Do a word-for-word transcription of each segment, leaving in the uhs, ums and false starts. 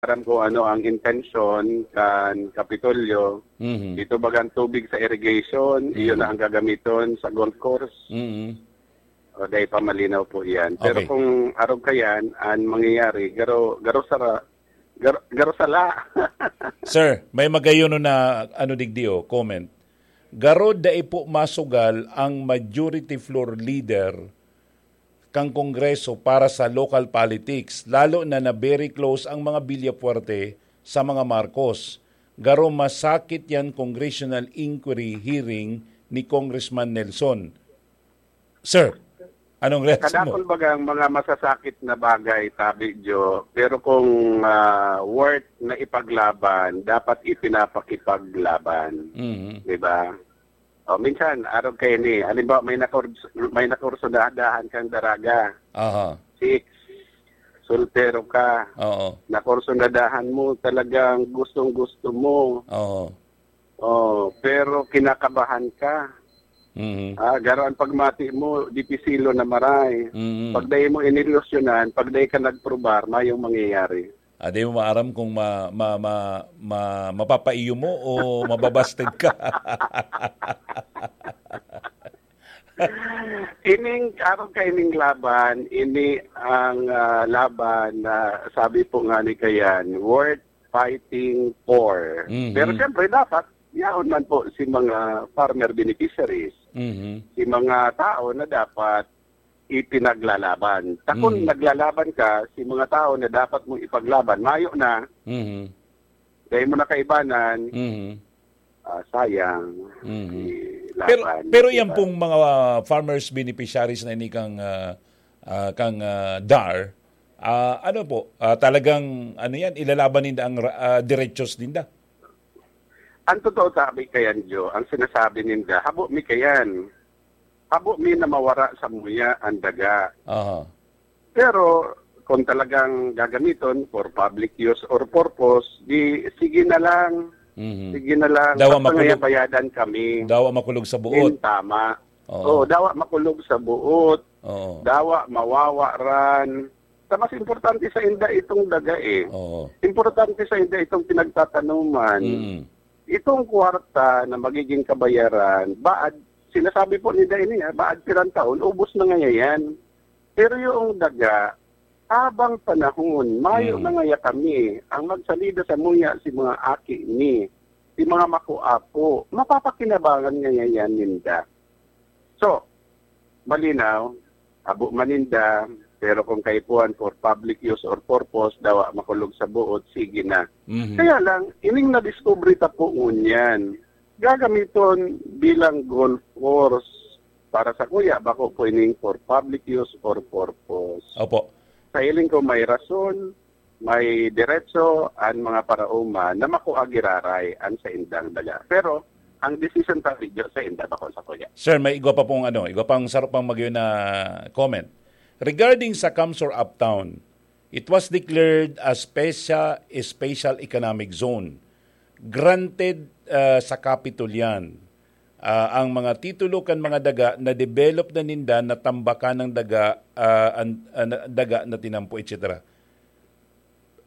aram kung ano ang intensyon kan Kapitolyo. Mhm. Ito bagang tubig sa irrigation, Mhm. iyon na ang gagamiton sa golf course. Mhm. O, dai pa malinaw po iyan. Pero Okay. kung arog kayan, ang mangyayari, garo, garo sara, garo, garo sala. Sir, may magayon na ano digdi, oh, comment. Garo dai po masugal ang majority floor leader kan Kongreso para sa local politics, lalo na na very close ang mga Villafuerte sa mga Marcos. Garo masakit yan congressional inquiry hearing ni Congressman Nelson. Sir, anong reaction mo? Kadakol bagang mga masasakit na bagay, tabi, Jo, pero kung, ah, worth na ipaglaban, dapat ipinapakipaglaban. Mhm. Di ba? O, minsan, arog kayo ni, halimbawa, may nakurs-, may nakursunadahan kang daraga. Aha. Chicks, soltero ka, Oo. nakursunadahan mo, talagang gustong-gusto mo. Oo. Oh, pero kinakabahan ka. Mhm. Ah, garo ang pagmati mo, dipisilo na maray. Mhm. Pag dai mo inilusyonan, pag dai ka nagprobar, mayong mangyayari. Ah, di mo maaram kung ma-, ma-, ma-, ma-, mapapaiyo mo o mababasted ka. Ining, aram ka, ining laban, ini ang, ah, laban na sabi po nga ni Kayan, worth fighting for. Mhm. Pero siyempre, dapat, yaon man po si mga farmer beneficiaries, Mhm. si mga tao na dapat ipinaglalaban. Ta kun Mhm. naglalaban ka, si mga tao na dapat mong ipaglaban, mayo na, Mhm. dahil mo na kaibanan, Mhm. ah, sayang, Mhm. ilaban, Pero, pero di yan ba? pong mga farmers beneficiaries na ini kang, ah, ah, kang, ah, dar, ah, ano po, ah, talagang, ano yan, ilalaban ninda ang ra-, ah, derechos ninda? Ang totoo, tabi kayan, Jo, ang sinasabi ninda, habo mi kayan. Habo mi na mawara sa muya ang daga. Aha. Pero kung talagang gagamiton for public use or purpose, di sige na lang. Mhm. Sige na lang. Dawa Basta makulog. ngayabayadan kami. Dawa makulog sa buot. Yun, tama. Oo. Oo, dawa makulog sa buot. Oo. Dawa mawawaran. Sa mas importante sa inda itong daga eh. Oo. Importante sa inda itong pinagtatanuman. Mm. Itong kwarta na magiging kabayaran, baad, sinasabi po ni Daini, ah, baad pirang taon, ubos na ngayayan. Pero yung daga, habang panahon, mayo Hmm. na ngaya kami, ang magsalida sa muya si mga aki ni, si mga makuapo, mapapakinabangan ngayayan ninda. So, malinaw, abo maninda, pero kung kaipuhan for public use or purpose, dawa makulog sa buot, sige na. Mhm. Kaya lang, ining nadiskubre ta po ngunyan, gagamiton bilang golf course para sa kuya, bako po ining for public use or purpose. Opo. Sa hiling ko, may rason, may diretso an mga paraoma na makua giraray an saindang daga. Pero ang desisyon ta, medyo sainda, bako sa kuya. Sir, may igwa pa pong ano, igwa pang saro pang magyo na comment. Regarding sa Kamsor Uptown, it was declared as special, special economic zone. Granted, ah, sa Capitol yan. Ah, ang mga titulo kan mga daga na develop na ninda, natambakan ng daga, ah, an-, ah, na, daga na tinampo, et cetera.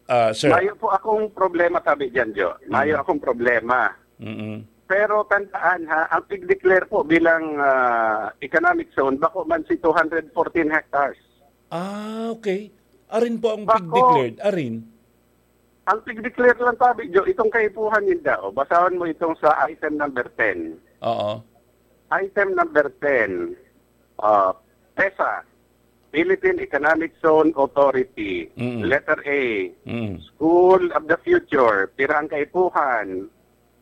Ah, sir. Mayo po akong problema, tabi dyan, Jo. Mayo Mm. akong problema. Mm-mm. Pero tandaan, ha, ang pig-declare po bilang, ah, economic zone, bako man si two hundred fourteen hectares. Ah, okay. Arin po ang Bako. pig-declared, arin? Ang pig-declare lang, tabi, Jo, itong kaipuhan ninda, o, basahon mo itong sa item number ten. Oo. Item number ten, ah, PEZA, Philippine Economic Zone Authority. Mm. Letter A, Mm. School of the Future, pira ang kaipuhan?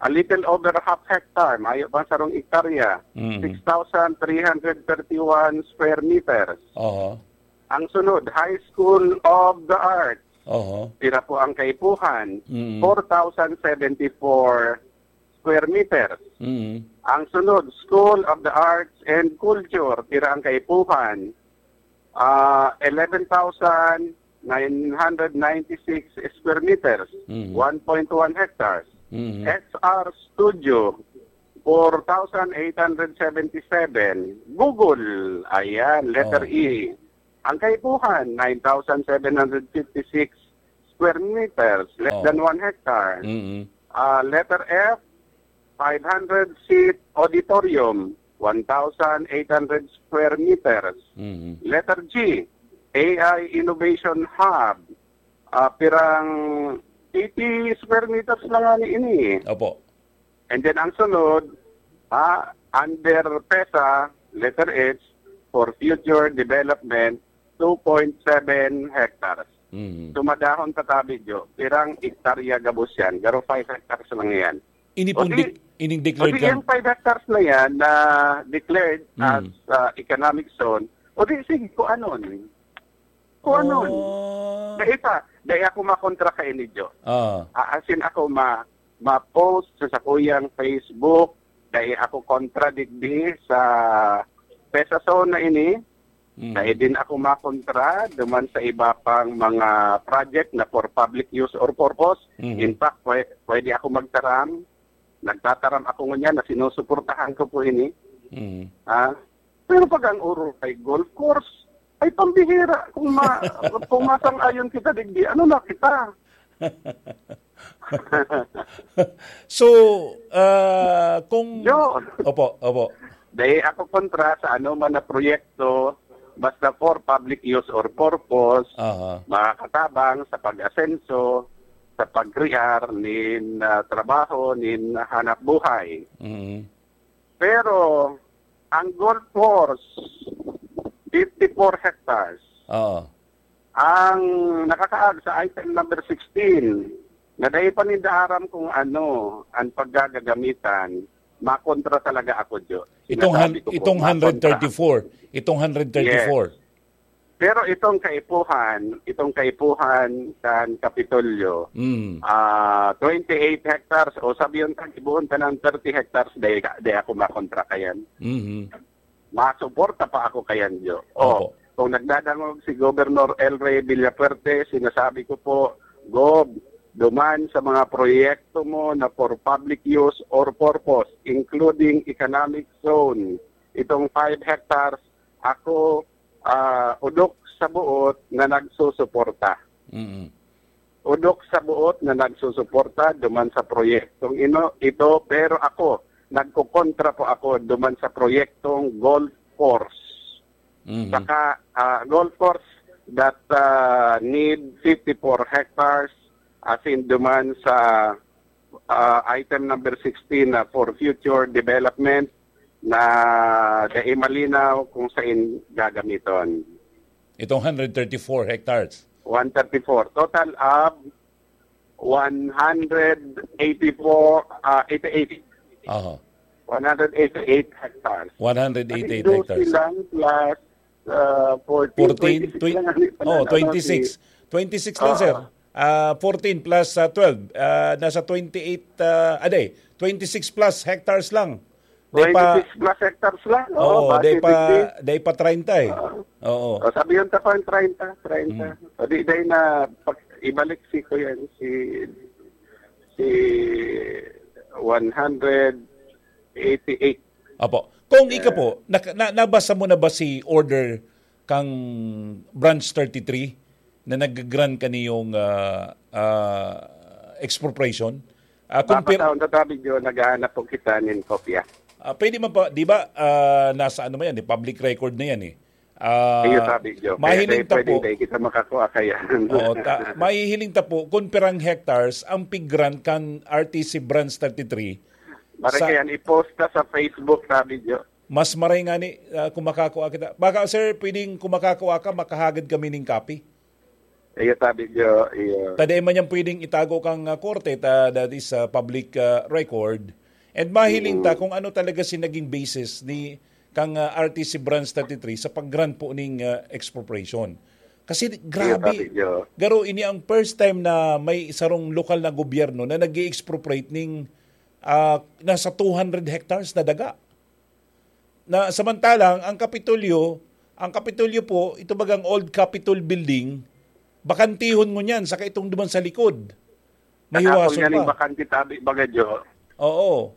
A little over half hectare, mayo pang sarong ektarya, Mm. six thousand three hundred thirty-one square meters. Oho. Ang sunod, High School of the Arts. Oho. Pira po ang kaipuhan? Mm. Four thousand seventy-four square meters. Mm. Ang sunod, School of the Arts and Culture. Pira ang kaipuhan? Ah, eleven thousand nine hundred ninety-six square meters, Mm. one point one hectares. Mm. S R Studio, four thousand eight hundred seventy-seven. Google, ayan, letter Oh. E. Ang kaipuhan, nine thousand seven hundred fifty-six square meters, less Oh. than one hectare. Mm-mm. Ah, letter F, five hundred seat auditorium, one thousand eight hundred square meters. Mm-hmm. Letter G, A I Innovation Hub, ah, pirang eighty square meters lang nga ni ini. Opo. And then ang sunod, ah, under PESA, letter H, for future development, two point seven hectares. Mm-hmm. Sumadahon tatabi, Jo, pirang hektarya gabos yan, garo five hectares lang yan. Ini pong O di, dec-, ining o declared di kan- yung five hectares na yan na declared Mm. as, ah, economic zone, o di, sige, kung ano ni. Kung ano ni. Oh. Dahil pa, dahil ako makontra ka ini, Jo. Ah. Ah, as in, ako ma-, ma-post sa sakuyang Facebook, dahil ako kontra digdi sa PESA zone na ini, Mm. Dai din ako makontra duman sa iba pang mga project na for public use or purpose. Mhm. In fact, pwe-, pwede ako magtaram. Nagtataram ako ngunyan na sinusuportahan ko po ini. Mhm. Ah, pero pag ang urol ay golf course, ay pambihira. Kung ma-, kung masang-ayon kita digdi, ano na kita? So, ah, kung Yun. Opo, opo. Dai ako kontra sa ano man na proyekto, basta for public use or purpose, Aha. makakatabang sa pag-asenso, sa pag-crear nin, ah, trabaho, nin hanap buhay. Mm. Pero, ang golf course, fifty-four hectares. Oo. Ang nakakaag sa item number sixteen, na dai pa ninda aram kung ano ang paggagagamitan, makontra talaga ako, Jo. Itong Sinasabi han-, ko po, itong makontra. Hundred thirty-four, itong hundred thirty-four. Yes. Pero itong kaipuhan, itong kaipuhan kan Kapitolyo, Mm. ah, twenty-eight hectares, o sabiyon ta, gibohon ta ng thirty hectares, dai ka, dai ako makontra kayan. Mhm. Masuporta pa ako kayan, Jo. O, Opo. kung nagdadangog si Governor El Rey Villafuerte, sinasabi ko po, Gov, duman sa mga proyekto mo na for public use or purpose, including economic zone, itong five hectares, ako, ah, udok sa buot na nagsusuporta. Mm. Udok sa buot na nagsusuporta duman sa proyektong ino, ito, pero ako, nagkokontra po ako duman sa proyektong golf course. Mhm. Saka, ah, golf course that, ah, need fifty-four hectares, as in duman sa, ah, item number sixteen na for future development na dai malinaw kung saan gagamiton. Itong hundred thirty-four hectares. One thirty-four. Total of one hundred eighty-four, ah, eighty-eight. Aha. One hundred eighty-eight hectares. One hundred eighty-eight Kasi hectares. Dosi lang plus, ah, fourteen, Fourteen, twenty-six twen-, lang ang oh, ipananaw twenty-six. si Twenty-six lang, Oo. sir. Ah, fourteen plus, ah, twelve. Ah, nasa twenty-eight, ah, ah, di. Twenty-six plus hectares lang. Di pa Twenty-six plus hectares lang. Oo, Oo, base di pa, fifty. di pa treinta eh. Oo. Oo. O, sabihin ta pa ang treinta, treinta. Hmm. O, di, di na, pag, ibalik si ko yan, si, si one hundred eighty-eight. Apo. Kung ika Yeah. po, nak-, na-, nabasa mo na ba si order kang Branch thirty-three na nag-grant kaniyong, ah, ah, expropriation? Ah, kung pir- Papataon na tabi, Joe, naghahanap po kita nin kopya. Ah, pwede man pa, di ba, ah, nasa ano man yan, eh, public record na yan eh. Ah, Iyo, tabi, Joe. Kaya mahiling tayo ta pwedeng po. tayo kita makakuha kaya. Oo, ta-, mahihiling ta po kung pirang hectares ang pig-grant kan R T C Branch thirty-three. Mare sa kayan, i-post na sa Facebook, tabi, Joe. Mas maray nga ni, ah, kung makakua kita. Baka, sir, pwedeng kung makakua ka, makahagad kami ning copy. Iyo, tabi, Joe. Iyo. Ta dai man yan pwedeng itago kang, ah, korte, ta that is, ah, public, ah, record. And mahiling ta Mm. kung ano talaga si naging basis ni kang, ah, R T C Branch thirty-three sa pag-grant po ning, ah, expropriation. Kasi Iyo, grabe. tabi, Joe. Garo, ini ang first time na may sarong lokal na gobyerno na nag-i-expropriate ning, ah, nasa two hundred hectares na daga. Na samantalang ang Kapitolyo, ang Kapitolyo po, ito bagang old Capitol building, bakantihon ngunyan, saka itong duman sa likod. Mahiwason Nakapon yan yung pa. bakante tabi, baga, Jo. Oo.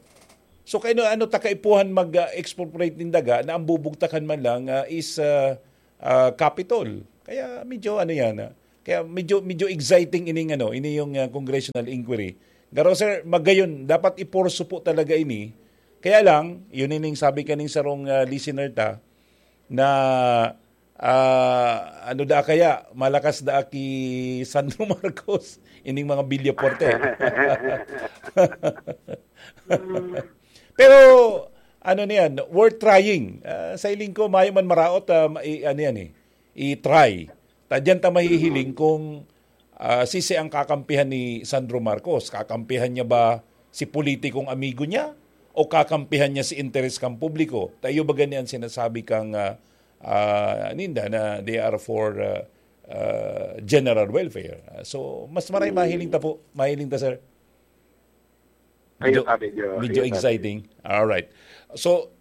So, kaya ano, ano ta kaipuhan mag, ah, expropriate nin daga na ang bubugtakan man lang, ah, is, ah, ah, Capitol. Kaya medyo ano yan, ah. Kaya medyo, medyo exciting ining ano, ini yung, ah, congressional inquiry. Garo, sir, magayon, dapat iporso po talaga ini. Kaya lang, yun ining sabi kaning sarong, ah, listener ta, na, ah, ano da kaya, malakas da ki Sandro Marcos, ining mga Villafuerte. Pero, ano na yan, worth trying. Ah, sa hiling ko, mayo man maraot, ah, ma- i- ano yan eh, i-try. Ta diyan ta mahihiling kung, ah, sisi ang kakampihan ni Sandro Marcos. Kakampihan niya ba si politikong amigo niya o kakampihan niya si interes kan publiko? Ta iyo ba gani ang sinasabi kang, ah, ah, ninda na they are for, ah, ah, general welfare? Ah, so, mas maray mahiling ta po, mahiling ta, sir. Ayun, Medyo, sabi niyo, medyo ayun, sabi. Exciting. All right. So,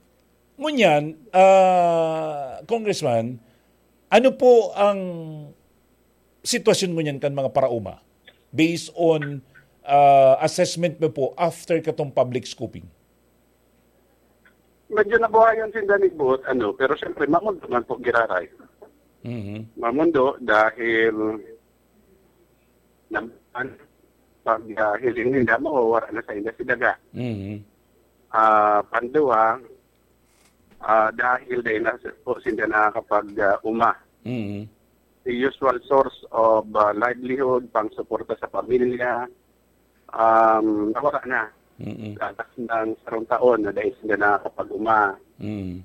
ngunyan, ah, Congressman, ano po ang sitwasyon ngunyan kan mga paraoma? Based on, ah, assessment mo po after katong public scoping? Medyo nabuhayan sinda ni Buot, ano, pero siyempre, mamundo man po giraray. Mhm. Mamundo dahil naman, pag, ah, hiling ninda, mawawara na sa inda si Daga. Mhm. Ah, panduwa, ah, dahil dahil na po sinda nakakapag, ah, uma. Mhm. The usual source of, ah, livelihood, pang suporta sa pamilya, um, nawara na. Mm. Sa atas ng sarong taon na dahil sinda nakakapag-uma. Mm.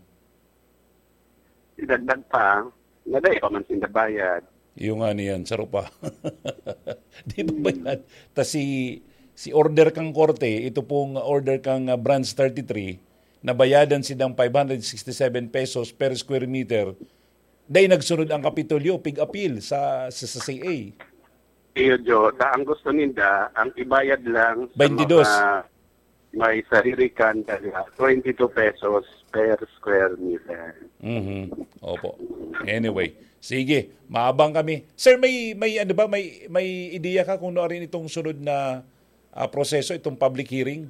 Idagdag pa, na dahil pa man sinda bayad. Yung nga niyan, saro pa. Di ba ba yan? Ta si, si order kang korte, ito pong order kang, ah, Branch thirty-three, nabayadan silang five hundred sixty-seven pesos per square meter. Dai nagsunod ang Kapitolyo, pig-apil sa, sa, sa C A. Iyo, Jo. Ta ang gusto ninda, ang ibayad lang sa Baintidos. Mga may sariri kan daga, twenty-two pesos per square meter. Mhm. Opo. Anyway, sige, maabang kami. Sir, may, may ano ba, may, may ideya ka kung ano rin itong sunod na, ah, proseso, itong public hearing?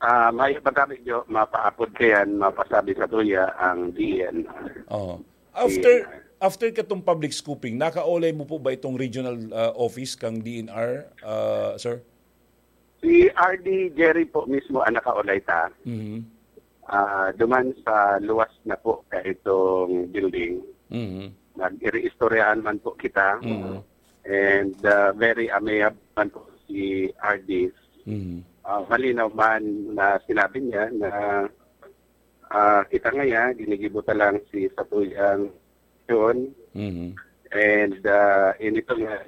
Ah, may pagkabig, Jo, mapaapod kayan, mapasabi sa tuya ang D N R. Oo. After, D N R. After katong public scoping, nakaulay mo po ba itong regional, ah, office kang D N R, ah, sir? Si R D Jerry po mismo ang nakaulay ta. Mhm. Ah, duman sa luwas na po kaitong building. Mhm. Nag-ireistoryahan man po kita. Mhm. And, ah, very amiable man po si R D. Mhm. Ah, malinaw man na sinabi niya na, ah, kita ngaya, ginigibo ta lang si satuyang yun. Mhm. And, ah, inito nga,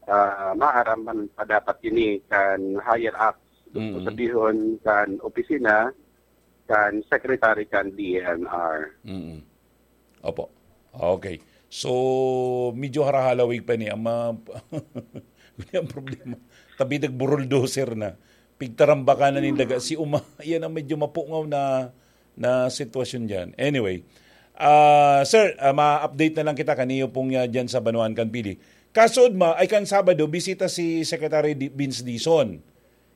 ah, maaram man pa dapat ini kan higher ups. Gusto Mhm. sabihon kan opisina, kan secretary kan D N R. Mhm. Opo. Okay. So, medyo harahalawig pa ni ang mga, ang problema. Tabi nagbulldozer na. Pigtarambakan na nin daga si uma. Yan ang medyo mapungaw na, na sitwasyon diyan. Anyway, ah, sir, ah, ma-update na lang kita kaniyo pong, ah, diyan sa Banwaan kan Pili. Kaso, ma, ay kan Sabado, bisita si Secretary Di-, Vince Dizon.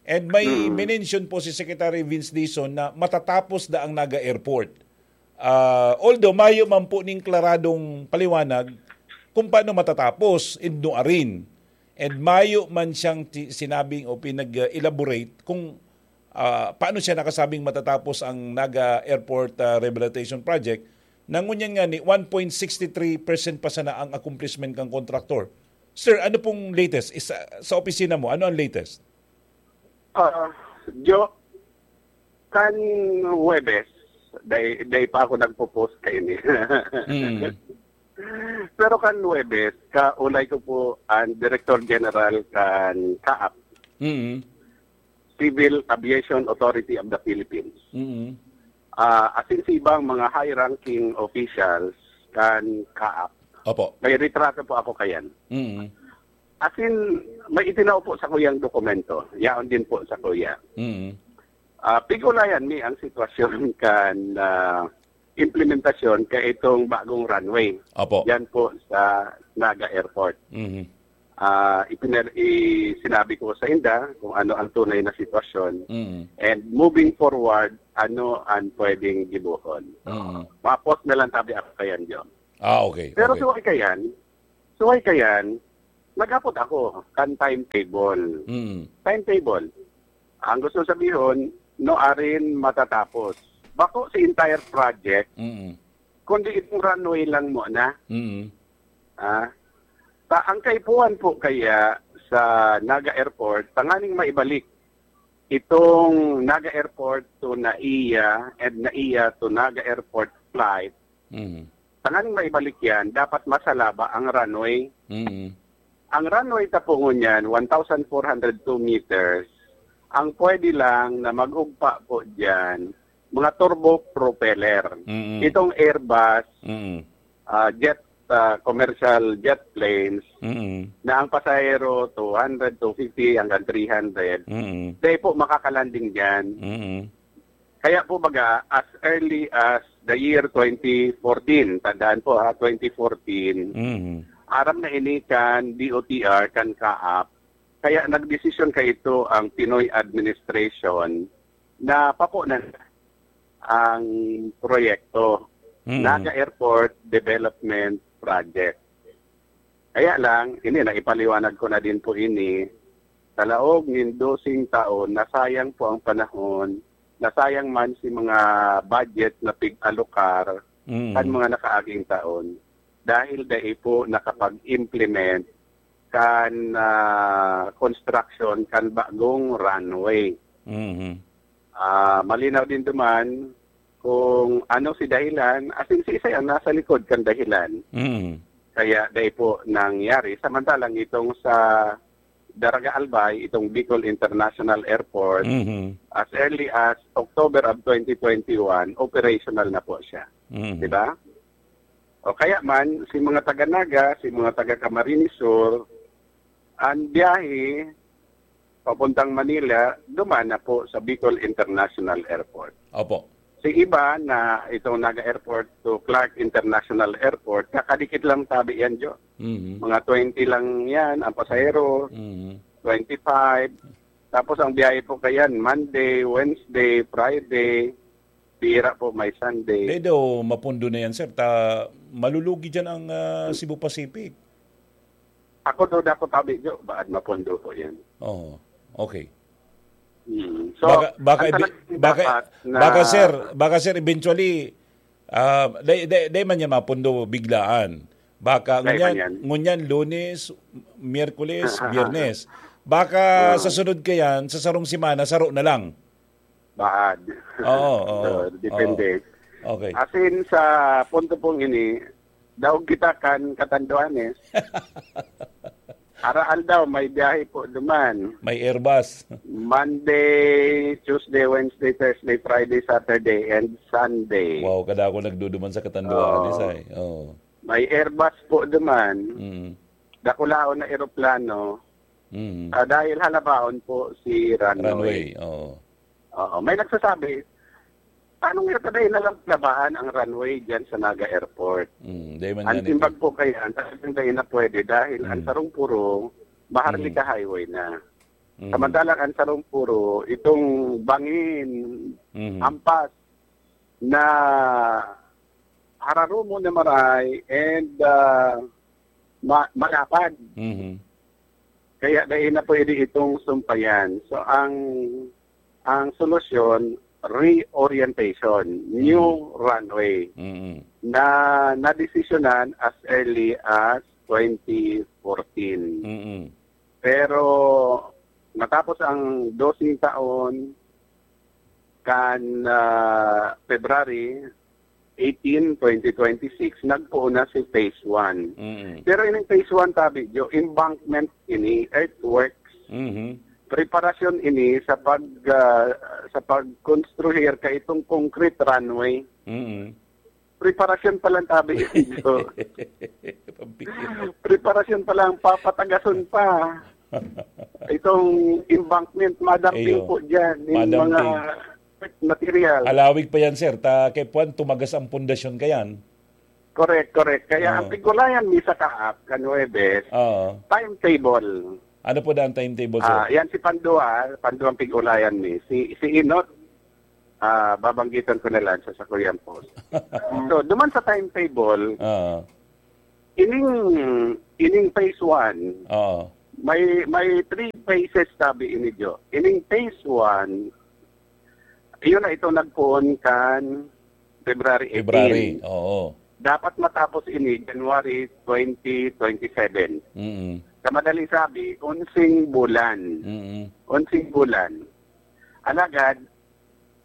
And may Mm. mention po si Secretary Vince Dizon na matatapos na ang Naga Airport. Ah, although mayo man po ning klaradong paliwanag kung paano matatapos, and nuarin. And mayo man siyang ti-, sinabing o pinag-elaborate kung, ah, paano siya nakasabing matatapos ang Naga Airport, ah, Rehabilitation Project, na ngunyan nga ni one point six three percent pa sana ang accomplishment kang kontraktor. Sir, ano pong latest? Isa, sa opisina mo, ano ang latest? Ah, Jo, kan Huwebes, day, day pa ako nagpo-post kaini. Mm. Pero kan Huwebes, kaulay ko po ang Director General kan CAAP, Mm. Civil Aviation Authority of the Philippines. Mm. Ah, asin sa ibang mga high-ranking officials kan CAAP. Opo. May retrato po ako kayan. Mm. Asin, may itinao po sa kuyang dokumento. Yaon din po sa kuya. Mm. Ah, pigulayan mi ang sitwasyon kan, ah, implementasyon kaitong bagong runway. Opo. Yan po sa Naga Airport. Mhm. Ah, ipiner-, i-, sinabi ko sa inda kung ano ang tunay na sitwasyon. Mhm. And moving forward, ano ang pwedeng gibohon. Mhm. Ma-post na lang tabi ako kayan, John. Ah, okay, Pero okay. Suway kayan, So, ay kayan, naghapot ako kan timetable. Mm. Timetable. Ang gusto sabihon, no arin matatapos. Bako si entire project, Mm. kundi itong runway lang muna. Mm. Ah, ta ang kaipuhan po kaya sa Naga Airport, tanganing maibalik itong Naga Airport to NAIA and NAIA to Naga Airport flight, Mm. tanganing maibalik yan, dapat masalaba ang runway. Mm. Ang runway ta po ngunyan, one thousand four hundred two meters. Ang pwede lang na mag-ugpa po dyan, mga turbo propeller. Mm. Itong Airbus, Mm. ah, jet, ah, commercial jet planes, Mm. na ang pasahero, two hundred, two fifty hanggang three hundred. Mm. Dahil po makakalanding dyan. Mm. Kaya po baga, as early as the year twenty fourteen, tandaan po ha, twenty fourteen, Mm. aram na ini kan D O T R, kan CAAP. Kaya nagdesisyon kaito ang Pinoy administration na papo na ang proyekto, Mm. Naga Airport Development Project. Kaya lang, ini, naipaliwanag ko na din po ini, sa laog nin doseng taon, nasayang po ang panahon, nasayang man si mga budget na pig-alokar Mm. kan mga nakaaging taon, dahil dai po nakapag-implement kan, ah, construction kan bagong runway. Mhm. Ah, malinaw din duman kung ano si dahilan, as in, siisay ang nasa likod kan dahilan. Mhm. Kaya dai po nangyari. Samantalang itong sa Daraga Albay, itong Bicol International Airport, Mhm. as early as October of twenty twenty-one, operational na po siya. Mhm. Di ba? O kaya man, si mga taga Naga, si mga taga Camarines Sur, ang biyahe papuntang Manila, duman na po sa Bicol International Airport. Opo. Si iba na itong Naga Airport to Clark International Airport, kakadikit lang tabi yan, Jo. Mhm. Mga twenty lang yan, ang pasahero, Mhm. twenty-five. Tapos ang biyahe po kayan, Monday, Wednesday, Friday, bihira po may Sunday. Di daw mapundo na yan, sir. Ta, malulugi dyan ang, ah, Cebu Pacific. Ako daw, dako tabi, Jo, baad mapundo po yan. Oo. Okay. Hmm. So, Baka, baka, ang ebi-, talagang baka, dapat na baka, sir, baka, sir, eventually, ah, day, day, day man yan mapundo biglaan. Baka Day man ngunyan, yan. ngunyan, Lunes, Miyerkules, Biyernes. Baka Oo. sa sunod kayan, sa sarong semana, saro na lang. Baad. Oo, oo, So, depende. oo. Okay. As in, sa punto pong ini, daog kita kan Catanduanes. Araal daw, may biyahe po duman. May Airbus. Monday, Tuesday, Wednesday, Thursday, Friday, Saturday, and Sunday. Wow, kadako nagduduman sa Catanduanes Oo. ay. Oo. May Airbus po duman. Mm. Dakulaon na eroplano. Mm. Ah, dahil halabaon po si runway. Runway, oo. Oo, may nagsasabi, "Paano nga ta dai na lang pinabahan ang runway diyan sa Naga Airport?" Mm, dai man Ang yan timbang ito. po kaya, ang talagang dai na pwede dahil ang Mm. sarong puro, Maharlika Mm. Highway na. Mm. Samantalang ang sarong puro, itong bangin, Mm. ampas, na hararumon na maray and, ah, ma-, malapad. Mhm. Kaya dai na pwede itong sumpayan. So, ang, ang solusyon, reorientation, new Mhm. runway Mhm. na nadesisyonan as early as twenty fourteen. Mhm. Pero matapos ang doseng taon, kan, ah, February eighteen, twenty twenty-six, nagpoon na si phase one. Mm. Pero ining phase one, tabi, Jo, embankment ini, earthworks. Mhm. Preparasyon ini sa pag, ah, sa pagkonstruir ka itong concrete runway. Mm. Preparasyon pa lang, tabi, Jo. Pampikit. Preparasyon pa lang, papatagason pa. Itong embankment, madamping Iyo. po dyan, yung Madamping. mga material. Alawig pa yan, sir. Ta, kay puwan, tumagas ang pundasyon kayan. Correct, correct. Kaya Oo. ang pigulayan mi sa kaap, kan Huwebes, Oo. timetable. Ano po daan timetable, sir? Ah, yan si Pandua, Pandua ang pigulayan mi. Si, si Inot, ah, babanggitan ko na lang sa sakuyan po. So, duman sa timetable, Oo. Ining, ining phase one, Oo. may, may three phases, sabi ini, Jo. Ining phase one, yun na ito nagpoon kan February February, eighteen. Oo. Dapat matapos ini January twenty twenty-seven. Mm. Sa madaling sabi, unsing bulan. Mm. Unsing bulan. Alagad,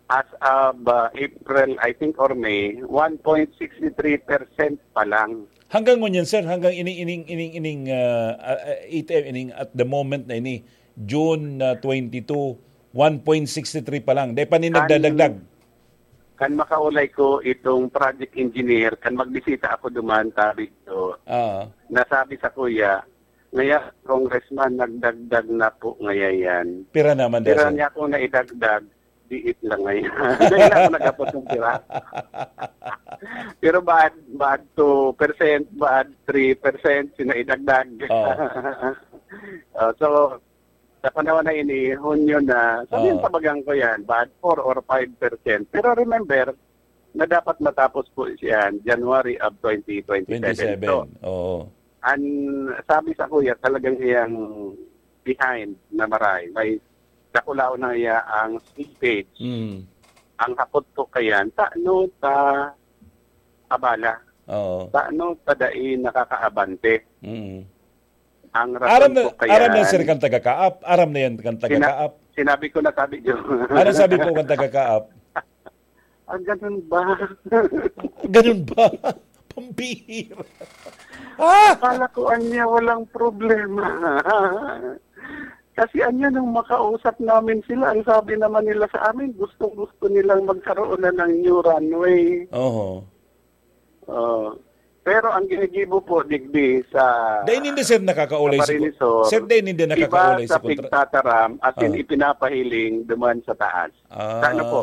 as of, uh, April, I think, or May, one point six three percent pa lang. Hanggang ngunyan, sir, hanggang ining, ining, ining, ining, ah, ah, ah, A T M, ining at the moment na ini, June, ah, twenty-two, one point six three pa lang. Dai pa ni Kan nagdadagdag. Kan makaulay ko itong project engineer, kan magbisita ako duman, sabi ko, Ah. nasabi sa kuya, "Ngaya, Congressman, nagdagdag na po ngaya yan." Pira naman daw, Pira sir? niya akong naidagdag, diit lang ngayon. Dahil ako nag-apos ng pira. Pero bad, bad two percent, bad three percent, sinaidagdag. Oh. Oh, so, sa panahon na ini, Hunyo na, sabihin Oh. tabagan ko yan, bad four or five percent. Pero remember, na dapat matapos po siya January of twenty twenty-seven. Twenty-seven, So, oo. An sabi sa kuya, talagang iyang behind na maray. May dakulaw na iya ang slippage. Mm. Ang hapot ko kayan, tano ta abala? Oo. Tano ta dai nakakaabante? Mm. Ang rason Aram na, po kayan, aram na, sir, kan taga-Kaap. Aram na yan kan sina-, taga-Kaap. sinabi ko na, sabi niyo. Ano sabi po kan taga-Kaap? Ah, ganun ba? Ganun ba? Pambihira. Ah! Akala ko anya walang problema. Kasi anya nung makausap namin sila, ang sabi naman nila sa amin, gustong-gusto nilang magkaroon na ng new runway. Oho. Oh. Pero ang ginigibo po, digdi, sa Dai ninda, sir, nakakaulay sa si Camarines Sur, sir, dai ninda iba nakakaulay sa sa kontra-, pigtataram, as in, ah. ipinapahiling duman sa taas. Ah. Sa ano po?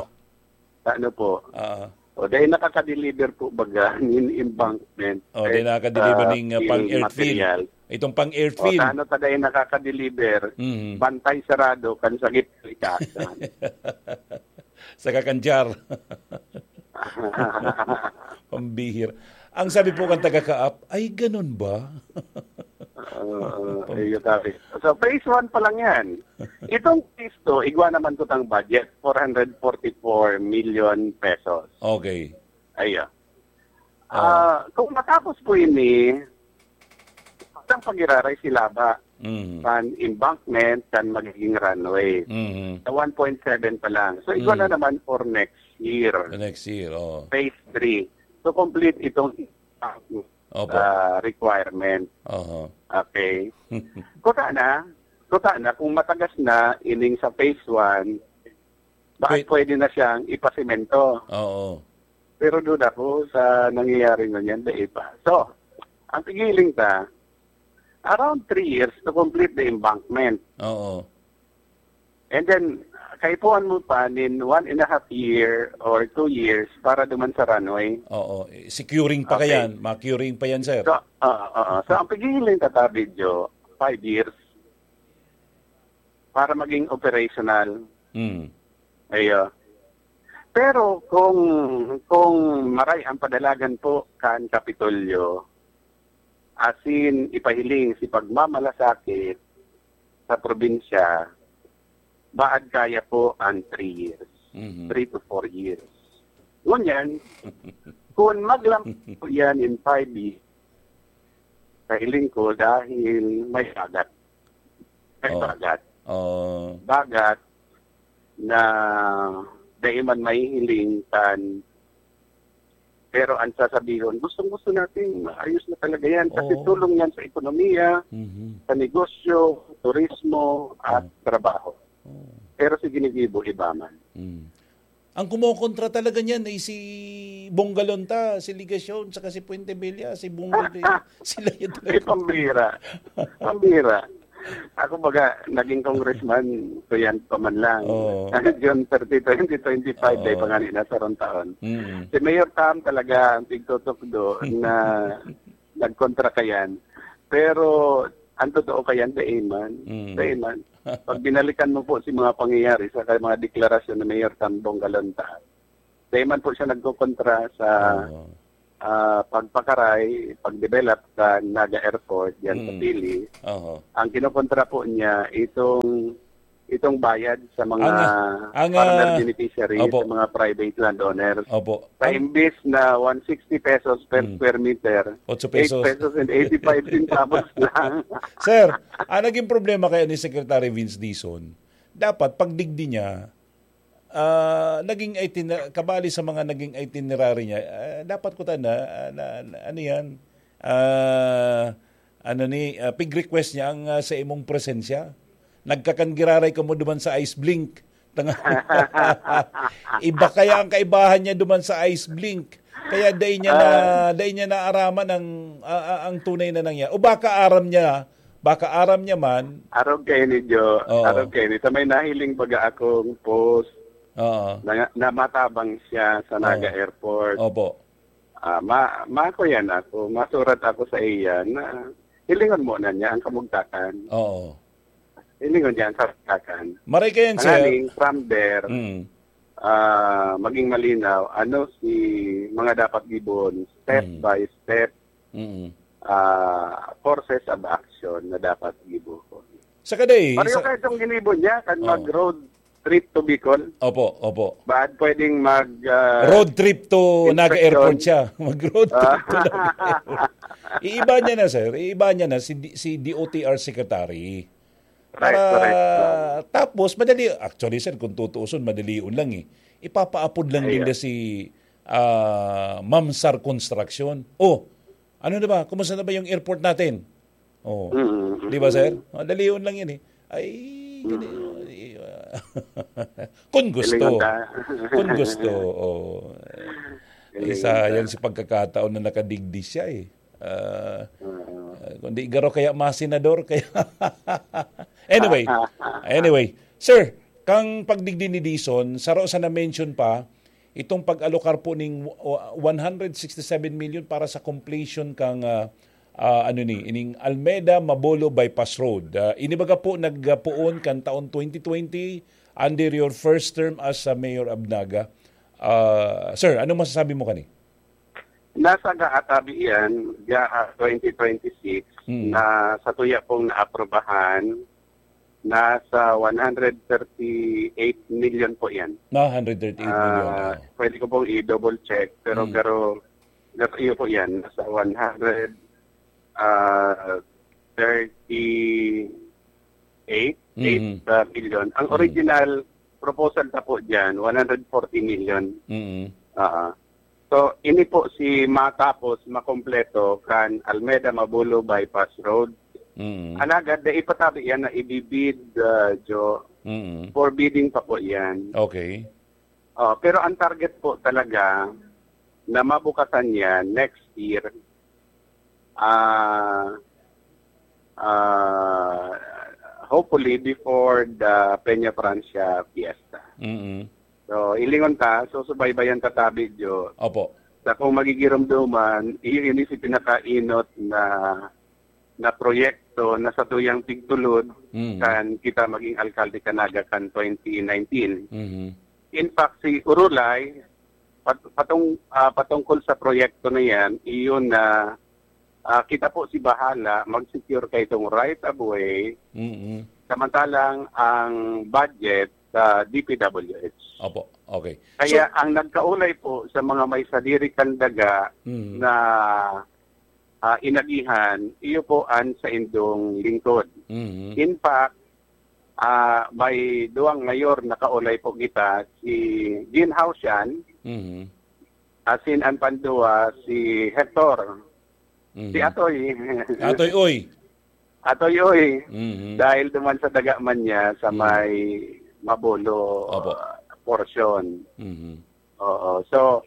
Sa ano po? Ah. O, dahil nakaka-deliver po baga nin embankment, Oh, eh, dahil nakaka-deliver sa ning, ah, fill pang-earth fill. material. Itong pang-earth O, fill. Sa ano ta dahil nakaka-deliver, Mhm. bantay sarado, kan sakit, ikasan. Sa kakanjar. Pambihir. Ang sabi po kan taga-Kaap, "Ay, ganun ba?" Oo, Pam- ayun, sabi. So, phase one pa lang yan. Itong phase two, igwa naman ko tang budget, four hundred forty-four million pesos. Okay. Ayun. Ah. Ah, kung matapos po ini, ang pag-iraray sila ba? Mm. Kan embankment, kan magiging runway. Mm. Sa one point seven pa lang. So, igwa Mm. na naman for next year. The next year, oo. Phase three. To complete itong Opo. ah, requirement. Oho. Okay. Kuta na, kuta na, kung matagas na, ining sa phase one, bakit Wait. pwede na siyang ipasemento? Oo. Pero duda ko sa nangyayari ngunyan, dai pa. So, ang pigiling ta, around three years to complete the embankment. Oo. And then, kaipuhan mo pa nin one and a half year or two years para duman sa runway. Oo. Eh, securing pa Okay. kayan. Ma-curing pa yan, sir. So, oo, oo. So, ang pigiling ta, Tabidyo, five years para maging operational. Mm. Ayo. Pero kung, kung maray ang padalagan po kan Kapitolyo, asin ipahiling si pagmamalasakit sa probinsya, baad kaya po ang three years, Mhm. three to four years. Ngunyan, kung maglampas po yan in five years, sa hiling ko, dahil may bagat. May Oh. bagat. Oh. Bagat na dai man mahihiling kan, pero ang sasabihon, "Gustong-gusto natin, maayos na talaga yan." Kasi Oo. tulong yan sa ekonomiya, Mhm. sa negosyo, turismo, at Mm. trabaho. Oo. Pero si ginigibo, iba man. Mm. Ang kumokontra talaga niyan ay si Bongalonta, si Legacion, saka si Fuentebella, si Bongo de, sila yun Ay, talaga. pambira. Pambira. Ako baga, naging congressman, ko yan pa man lang. Oo. June thirty, twenty twenty-five, Oo. dahil pa nga ni nasa rong taon. Mm. Si Mayor Tam talaga ang tigtutukdo na nagkontra kayan. Pero, ang totoo kayan, dai man. Mm. Dai man. Pag binalikan mo po si mga pangyayari sa mga deklarasyon ni Mayor Tam Bongalonta, dai man po siya nagkokontra sa Oo. ah, pagpakaray, pag-develop sa Naga Airport diyan sa Mm. Pili. Oho. Ang kinokontra po niya, itong, itong bayad sa mga Ang, ang, farmer ah, beneficiary, opo. Sa mga private landowners. Opo. Sa Ang imbis na one sixty pesos per Mm. square meter, Otso pesos. Eight pesos and eighty-five centavos lang. Sir, ang naging problema kaya ni Secretary Vince Dizon, dapat pagdigdi niya, ah, naging itiner-, kabali sa mga naging itinerary niya, ah, dapat ko tana, ah, na, na, ano yan, ah, ano ni, ah, pig-request niya ang, ah, sa imong presensya. Nagkakangiraray ka mo duman sa ice blink. Tanga-, iba kaya ang kaibahan niya duman sa ice blink. Kaya dai niya na, Ah. dai niya naaraman ang, ah, ah, ang tunay na nangyari. O baka aram niya, baka aram niya man. Arog kayo ni Jo, Oo. Arog kayo ni. Sa may nahiling baga akong post Oo. na, na matabang siya sa Naga Oo. Airport. Opo. Ah, ma-, makuyan ako, masurat ako sa iya na hilingon mo na niya ang kamugtakan. Oo. Hilingon niya ang kamugtakan. Maray kayan, sir. Tanganing, from there, Mm. ah, maging malinaw, ano si mga dapat gibon, step Mm. by step, Mm. ah, courses of action na dapat gibuhon. Sa kaday, Pareho sa kayo itong ginibo niya, kan Oh. mag-road trip to Bicol. Opo, opo. Baad pwedeng mag, ah, Road trip to Naga inspection. Airport siya. Mag-road trip to Ah. Naga Airport. Iiba niya na, sir. Iiba niya na si D-, si D O T R secretary. Right, Para, correct. Tapos, madali, actually, sir, kung tutuuson, madali yun lang eh. Ipapaapod lang din Ayun. na si, ah, Mamsar Construction. Oh, ano na ba? Kumusta na ba yung airport natin? Oh. Mm, mm, Di ba, sir? mm. Madali yun lang yun eh. Ay, Mm. gani-, ay, ah, kung gusto. Galingan ta. Kung gusto, oh. Galingan Isa ta. yan si pagkakataon na nakadigdi siya eh. Ah, Oo. ah, kundi garo kaya masenador, kaya anyway, anyway, sir, kang pagdigdi ni Dison, saro sa na-mention pa, itong pag-alokar po ning w-, one hundred sixty-seven million para sa completion kang, ah, ah, ano ni, ining Almeda Mabolo Bypass Road. Ah, ini baga po nagpoon kan taon twenty twenty under your first term as, ah, Mayor of Naga. Ah, sir, anong masasabi mo kani? Nasa gaatabi yan, gaha twenty twenty-six, Mm. na sa tuya pong naaprubahan, nasa one hundred thirty-eight million po yan. Na hundred thirty-eight million, Ah, oh. Pwede ko pong i-double check, pero, Mm. pero, pero iyo po yan, nasa one hundred, ah, thirty-eight, Mm. eight, ah, million. Ang Mm. original proposal na po dyan, one hundred forty million. Mm. Ah. So, ini po si matapos makompleto kan Almeda Mabolo Bypass Road. Mm. Alagad, dai pa tabi yan na ibibid, ah, Jo. Mm. For bidding pa po yan. Okay. Oh, pero ang target po talaga na mabukasan yan next year, ah, ah, hopefully before the Peña Francia Fiesta. Mm. So, ilingon ta, so subaybayan ta tabi, Jo. Opo. Sa kung magigiromdoman, iyo ini si pinakainot na, na proyekto na sa tuyang tigtulod Mm. kan kita maging alkalde kan Naga kan twenty nineteen. Mhm. In fact, si Urulay, pat-, patong-, ah, patungkol sa proyekto na yan, iyon na, ah, kita po si bahala mag-secure kay itong right of way, Mm-mm. samantalang ang budget sa D P W H. Opo, okay. Kaya So ang nagkaulay po sa mga may sadiri kan daga Mm. na, ah, inagihan, iyo po an saindong lingkod. Mm. In fact, ah, may duwang mayor na kaulay po kita, si Gin Haoshan, Mm. asin an panduwa, si Hector. Mm. Si Atoy. Atoy Uy. Atoy Uy. Mm. Dahil duman sa daga man niya sa Mm. may Mabolo, Opo. ah, portion. Mm. Oo. So,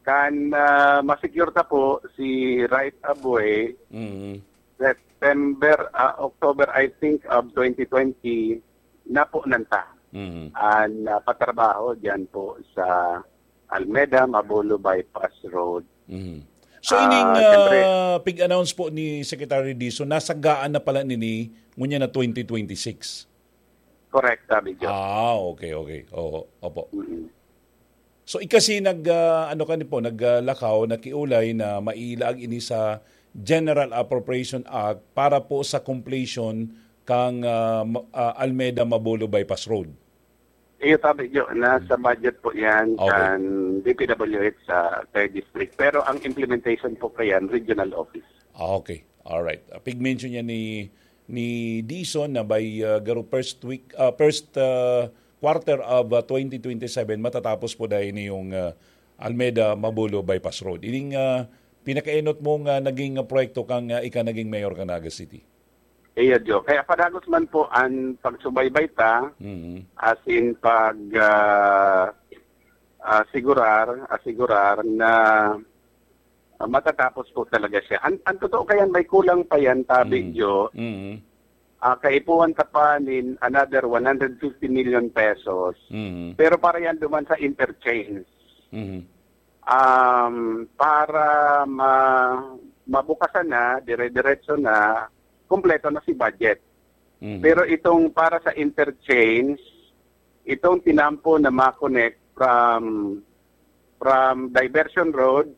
kan, ah, ma-secure ta po si right of way, Mm. September, ah, October, I think, of twenty twenty, na po nanta. Mm. An, ah, patrabaho dyan po sa Almeda, Mabolo Bypass Road. Mm. So, Ah, ining, siyempre. ah, pig-announce po ni Secretary Dizon, nasagaan na pala nini ngunyan na twenty twenty-six? Correct, sabi, Joe. Ah, okay, okay. Oo, opo. Mm. So, ikasi nag, ah, ano ka ni po, naglakaw, nakiulay na mailaag ini sa General Appropriation Act para po sa completion kang, ah, ma-, ah, Almeda Mabolo Bypass Road. Iyo, sabi nyo, nasa budget po yan Okay. kan D P W H sa third district. Pero ang implementation po kayan, regional office. Ah, okay. Alright. Ah, pig-mention niya ni, ni Dison na by, ah, garo first week, ah, first, ah, quarter of, ah, twenty twenty-seven, matatapos po dahil yung, ah, Almeda Mabolo Bypass Road. Ining, ah, pinakaenot mong, ah, naging, ah, proyekto kang, ah, ika naging mayor ka Naga City. Iya, Jo. Kaya padagos man po ang pagsubaybay ta, Mhm. as in pag, ah, ah, sigurar, asigurar na, ah, matatapos po talaga siya. An, ang totoo kayan, may kulang pa yan, tabi, Mm. Jo. Mm. Ah, kaipuhan ka pa nin another one hundred fifty million pesos. Mm. Pero para yan duman sa interchange. Mm. Um, para ma-, mabukasan na, dire-diretso na, kompleto na si budget. Mm. Pero itong para sa interchange, itong tinampo na ma-connect from, from Diversion Road,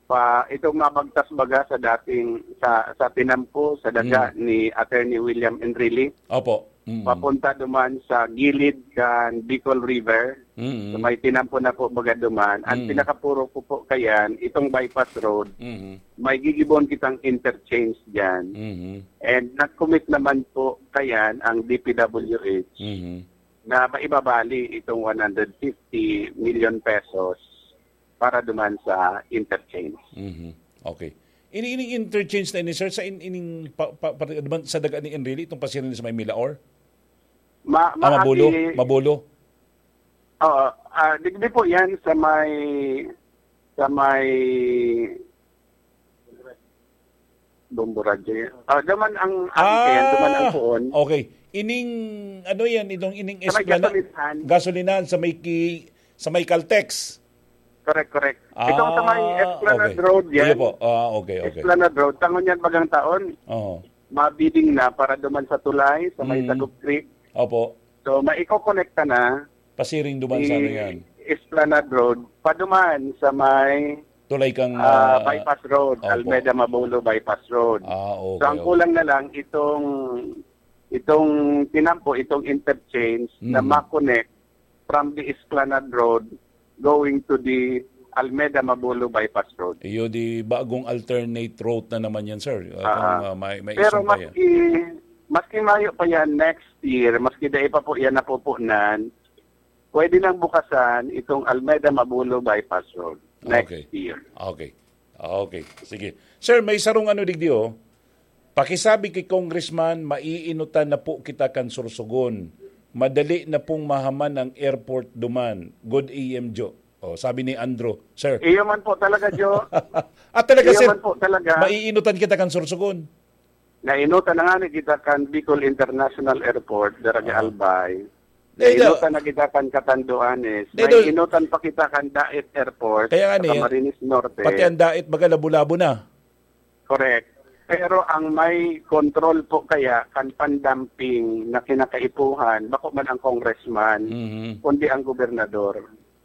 pa, itong mabagtas baga sa dating, sa, sa tinampo, sa daga Mm. ni Attorney William Enrile, Opo. Mm. papunta duman sa gilid kan Bicol River. Mm. So, may tinampo na po baga duman. Ang Mm. pinakapuro ko po kayan, itong bypass road, Mm. may gigibon kitang interchange dyan. Mm. And nag-commit naman po kayan ang D P W H Mm. na maibabali itong one hundred fifty million pesos para duman sa interchange. Mhm. Okay. Ini, ining interchange na ini, sir, sa in, ining pa, pa, pa, duman sa daga ni Enrile, itong pasiring sa may Milaor? Ma-, Ah, Mabolo? maabi- Mabolo? Oo. Ah, digdi po yan sa may, sa may Bombo Radyo yan. Ah, duman ang, ang Ah, yan, duman ang puon. okay. Ining, ano yan, itong ining Sa may Esplana-, gasolinahan. gasolinahan sa may ki-, sa may Caltex. Correct, correct. Itong sa may Ah, Esplanade okay. Road yan. Sige po. Ah, okay, okay. Esplanade Road. Tangon yan bagang taon. Oo. Mabiding na para duman sa tulay, sa may Mm. Sagop Creek. Opo. So, maikokonekta na Pasiring duman sa ano si yan. Esplanade Road, paduman sa may, Tulay kang, ah, ah, Bypass Road, opo. Almeda Mabolo Bypass Road. Ah, okay, So, ang okay. kulang na lang itong, itong tinampo, itong interchange na Mm. ma-connect from the Esplanade Road going to the Almeda Mabolo Bypass Road. Iyo, di bagong alternate route na naman yan, sir. Ah, Atong, ah. ah, may, may Pero isang pa yan. maski, maski mayo pa yan next year, maski dai pa po yan napupunan, pwede nang bukasan itong Almeda Mabolo Bypass Road next Okay. year. Okay. Okay. Sige. Sir, may sarong ano digdi, oh. Pakisabi ki Congressman, maiinutan na po kita kan Sorsogon. Madali na pong mahaman ang airport duman. Good A M, Jo. Oh, sabi ni Andrew, sir. Iyo man po talaga, Jo. Ah, talaga, Iyo sir? man po talaga. Maiinutan kita kan Sorsogon. Nainutan na nga ni kita kan Bicol International Airport, Daraga Ah. Albay. Eh, Nainutan do- na kita kan Catanduanes. Eh, do- Nainutan pa kita kan Dait Airport Kaya nga sa ni, Camarines Norte. pati ang Dait, baga, labo-labo na. Correct. Pero ang may control po kaya kan pan-dumping na kinakaipuhan, bako man ang congressman, Mhm. kundi ang gobernador.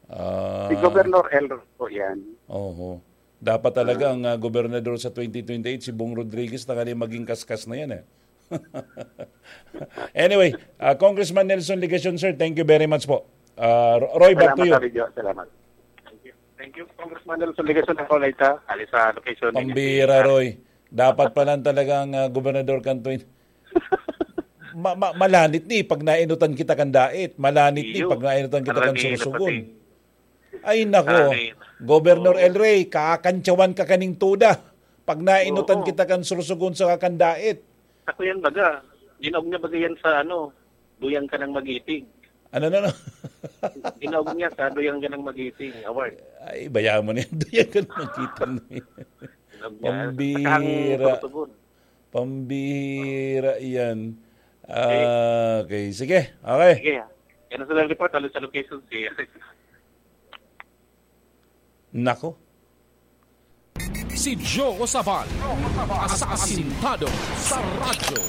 Ah. Si Governor Elroy po yan. Oho. Dapat talaga Ah. ang, ah, gobernador sa twenty twenty-eight, si Bong Rodriguez, tanganing maging kaskas na yan, eh. Anyway, ah, Congressman Nelson Legacion, sir, thank you very much po. Ah, Ro-, Roy, back to Salamat, you. Abidjo. Salamat. Thank you. Thank you, Congressman Nelson Legacion ng Olayta. Ali sa location ni Pambira, Roy. Dapat pa lang talagang, ah, gobernador kan twenty. Ma-, ma-, malanit ni pag nainutan kita kan Dait. Malanit ni Iyo. pag nainutan kita kan Alam ni Sorsogon. Ay, nako. Ay. Governor Oo. El Rey, kakantsawan ka kaning tuda. Pag nainutan Oo. kita kan Sorsogon sa kan Dait. Ako yan, baga. Ginaog niya, baga, yan sa, ano, Duyang Ka Nang Mag-iting. Ano, ano, ano? Ginaog niya sa Duyang Ka Nang Mag-iting award. Ay, bayaan mo na yan. Duyang Ka Nang Mag-iting. Ginaog niya. Pambira. Saka ang Sorsogon. Pambira yan. Okay. Ah, okay. Sige. Okay. Sige. Yan ang sa report. Halos sa location si Nako. Si Joe Sabal, asasintado sa radyo.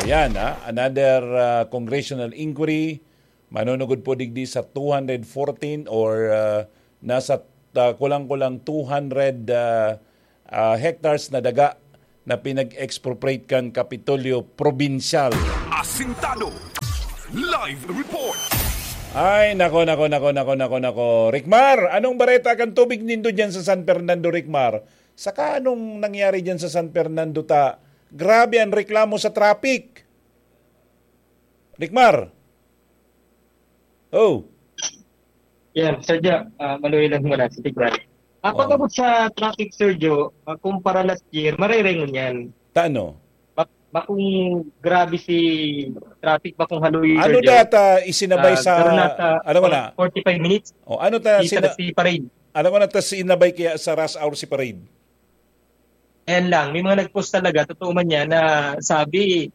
Ayan, ha? Another, ah, congressional inquiry Manunugod po digdi sa two hundred fourteen or, ah, nasa, ah, kulang-kulang two hundred, ah, ah, hectares na daga na pinag-expropriate kan Kapitolyo Probinsyal. Asintado. Live report. Ay, nako, nako, nako, nako, nako, nako. Rikmar, anong bareta kan tubig nindo diyan sa San Fernando, Rikmar? Saka anong nangyari diyan sa San Fernando ta? Grabe ang reklamo sa traffic. Rikmar? Oh. Yan, Sir Jo, ah, maluoy lang muna si Tigran. Ah, Oo. Pag-abot sa traffic, Sir Jo, ah, kumpara last year, marereng yan. Tano? Bak bakong grabe si traffic, bakong haluy, Ano Sir Jo. data isinabay Ah, sa... karon nata, Alam mo na. forty-five minutes, O, ano ta isa sina, si Parade. Alam mo na ta sinabay kaya sa rush hour si Parade? Ayan lang, may mga nag-post talaga, totoo man yan, na sabi,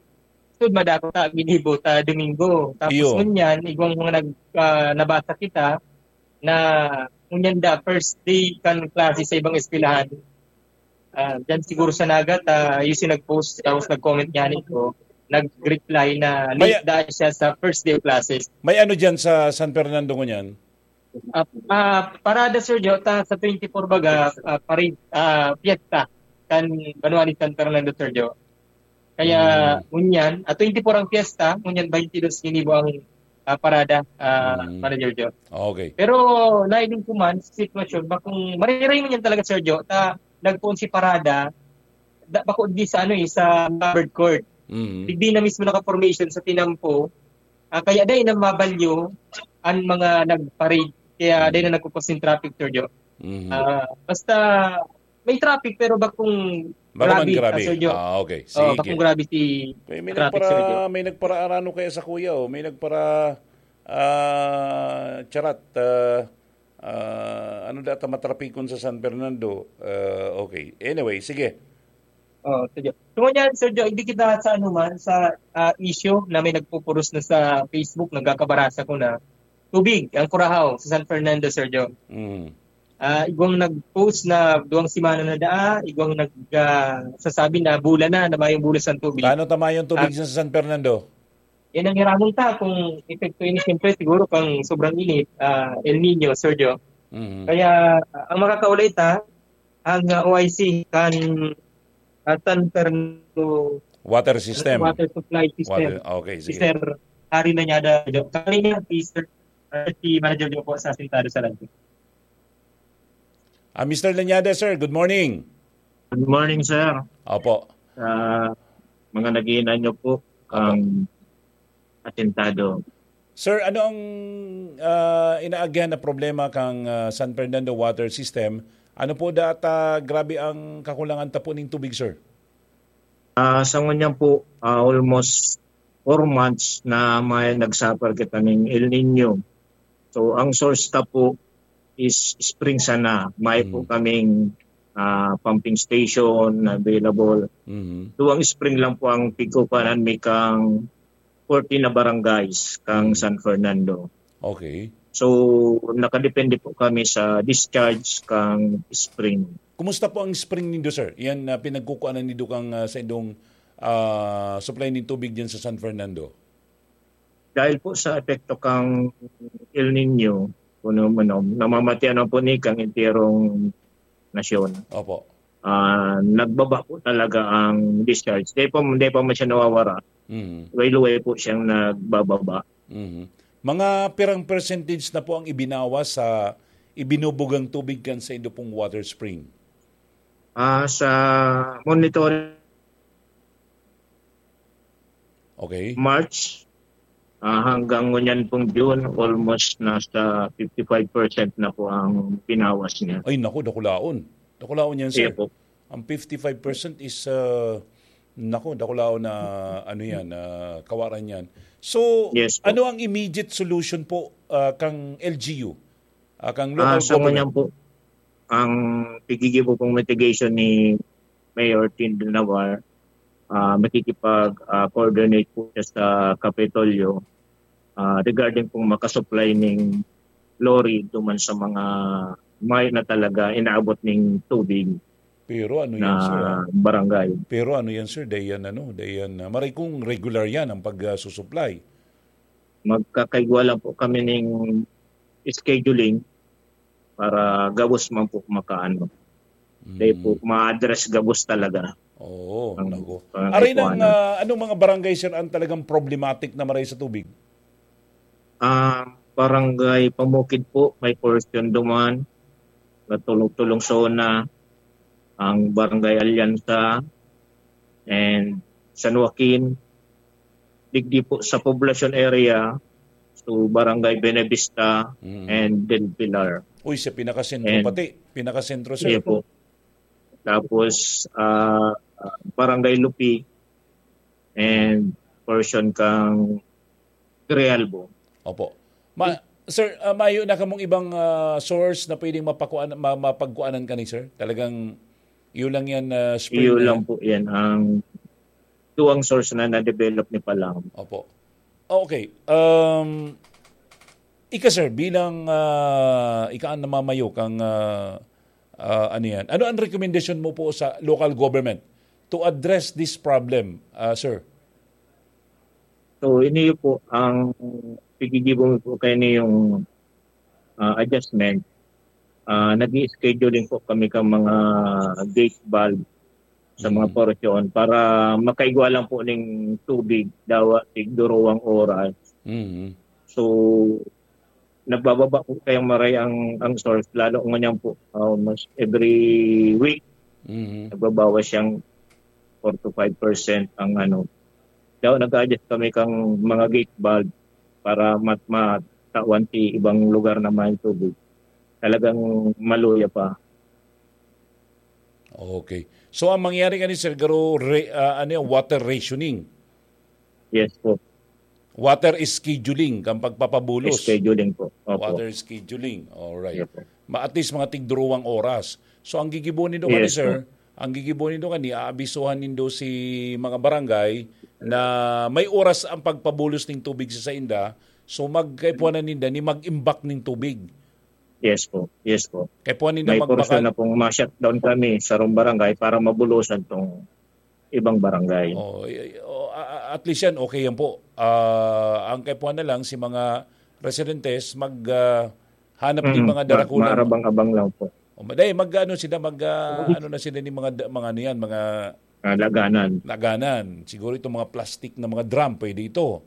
"Sud, madako ta, ginibo ta, Domingo." Tapos Iyo. ngunyan, igwang mga nag, ah, nabasa kita, na ngunyan da, first day kan klase sa ibang eskwelahan. Ah, dyan siguro sa Naga, ta, yung si nag-post, tapos nag-comment niya nito, nag-reply na late May- dahil siya sa first day of classes. May ano dyan sa San Fernando ngunyan? Ah, ah, parada, Sir Jo, ta, sa twenty-four baga, ah, parade, ah, fiesta, kan banwa ni San Fernando, Sir Jo. Kaya, Hmm. ngunyan, ah, twenty-four ang fiesta, ngunyan twenty-two ginibo ang, ah, parada, ah, Hmm. Manager Jo. Okay. Pero, nahiling ko man, sa sitwasyon, bakong mariray man yan talaga, Sir Jo, ta, nagpoon si parada, da, bako di sa, ano eh, sa covered court. Mhm. Digdi na mismo naka-formation sa tinampo, ah, kaya dai na mabalyo ang mga nag-parade. Kaya dai na nagkukos yung traffic, Sir Jo. Mhm. Ah, basta may traffic, pero bakong Bako man grabe, grabe. ah, Sir Jo. Ah, okay. Oh, Sige. Bakong grabe si Kaya may traffic, nagpara, Sir Jo. May nagparaarano kaya sa kuya, oh. May nagpara, ah, charat, ah, ah, ano data matrapikon sa San Fernando? Ah, okay. Anyway, sige. Oh, Sir Jo. So, ngunyan, Sir Jo, hindi kita sa ano man, sa, ah, issue na may nagpupuros na sa Facebook, nagkakabarasa ko na tubig, ang Curaçao, sa San Fernando, Sir Jo. Mm. Ah, igwang nag-post na duwang semana na daa, igwang nag, ah, sasabi na bula na, na mayong bulos ang tubig. Paano tama yung tubig Ah. sa San Fernando? Yan ang hiramon ta kung epekto ini, siyempre, siguro kang sobrang init, ah, El Nino, Sir Jo. Mhm. Kaya, ah, ang makakaulay ta, ang, ah, O I C, kan, ah, San Fernando Water system. Water Supply System. Water, okay, Si sige. Sir Harry Nanyada, Jo. Kami nga, si Sir, ah, si Manager Jo po sa Asintado sa Radyo. Ah, Mister Lanyada, sir, good morning. Good morning, sir. Opo. Sa mga nag-iinanyo po, ang atentado. Sir, ano ang, ah, inaagihan na problema kang, ah, San Fernando Water System? Ano po data grabe ang kakulangan ta po ning tubig, sir? Ah, sa ngunyan po, ah, almost four months na may nagsuffer kita ning El Nino. So, ang source ta po is spring sana. May po Mm. kaming, ah, pumping station na available. Mhm. Duwang spring lang po ang pigkukuhanan mi kang fourteen na barangays kang Mm. San Fernando. Okay. So, nakadepende po kami sa discharge kang spring. Kumusta po ang spring nindo, sir? Yan na pinagkukuanan nindo kang, ah, sa indong, ah, supply nin tubig diyan sa San Fernando? Dahil po sa epekto kang El Nino, kuno man, namamatian na po ni kang entierong nasyon. Opo. Ah, nagbaba po talaga ang discharge. Di pa, di pa man siya nawawara. Mhm. Luway-luway po siyang nagbababa. Mhm. Mga pirang percentage na po ang ibinawas sa ibinubugang tubig kan sa indo pong water spring? Ah, sa monitoring Okay. March, ah, hanggang ngunyan pong June, almost nasa fifty-five percent na po ang pinawas niya. Ay, naku, dakulaon. Dakulaon yan, sir. Iya po. Ang fifty-five percent is, uh, naku, dakulaon na, ano yan, ah, kawaran yan. So, Yes po. Ano ang immediate solution po, ah, kang L G U? Ah, kang local Ah, sa government? ngunyan po, ang pigigibo pong mitigation ni Mayor Tin Navar, ah, makikipag, ah, coordinate po siya sa Kapitolyo, ah, regarding pong makasupply ning lorry duman sa mga may na talaga inaabot ning tubig Pero ano na yan, sir, ah? barangay. Pero ano yan, sir? Dayan, ano? Dayan, ah, maray kung regular yan ang pag-susupply. magkakaigwa lang po kami ning scheduling para gabos man po makaano. Dahil po Mm. ma-address gabos talaga Oo, ang naku. pangangaipuhanan. Aray nang, ah, anong mga barangay, sir, ang talagang problematic na maray sa tubig? Ah, Barangay Pamukid po, may portion duman, natulong-tulong zona, ang Barangay Alianza, and San Joaquin, digdi po sa Poblacion area, so Barangay Benavista Mm. and Del Pilar. Uy, sa pinakasentro And pati. Pinakasentro, sir. Iya po. Tapos, ah, ah, Barangay Lupi and portion kang Grijalbo. Opo. Ma-, sir, ah, mayo na kamong ibang, ah, source na pwedeng mapakuan-, ma-, mapagkuanan kani, sir? Talagang iyo lang yan, ah, spring Iyo na lang yan? po yan. Ang duwang source na na-develop ni Palang. Opo. Okay. Um, ika, sir, bilang, ah, ika ang namamayo kang, ah, ah, ano yan? Ano ang rekomendasyon mo po sa local government to address this problem, ah, sir? So, ini po ang pigigibo po kayo yung, ah, adjustment. Ah, nag-i-scheduling po kami ka mga gate valve sa mga Mm. portion para makaigwa lang po ning tubig, dawa tig durowang oras. Mm. So, nagbababa po kayang maray ang, ang source, lalo ngunyan po, ah, almost every week, Mm. nagbabawas siyang four to five percent ang ano. Daw nag-adjust kami kang mga gate valve para mat-, matawan ti ibang lugar na may tubig. Talagang maluya pa. Okay. So, ang mangyari kani, sir, garo, re-, ah, ano yan, water rationing? Yes po. Water scheduling, kang pagpapabulos. Scheduling po. Opo. Water scheduling. Alright. Yes po. Ma-, at least mga tigduruwang oras. So, ang gigibo nindo kani, Yes sir, po. ang gigibo nindo kani, aabisuhan nindo si mga barangay na may oras ang pagpabulos ning tubig sa sainda. So, magkaipuhanan ninda ni mag-imbak ning tubig. Yes po. Yes po. Kaipuhan ninda May magbakal. portion na pong ma-shutdown kami sa rong barangay para mabulosan tong ibang barangay. Oh, y-, y-, oh, a-, a-, at least yan, okay yan po. Ah, ang kaipuhan na lang, si mga residentes mag, ah, hanap din Mm, mga ma-, darakulang maarabang-abang lang po. Oh, ma-, dahil mag, ano sila, mag, ah, ano na sila ni mga da-, mga ano yan, mga Ah, laganan. laganan. Siguro itong mga plastic na mga drum, pwede ito.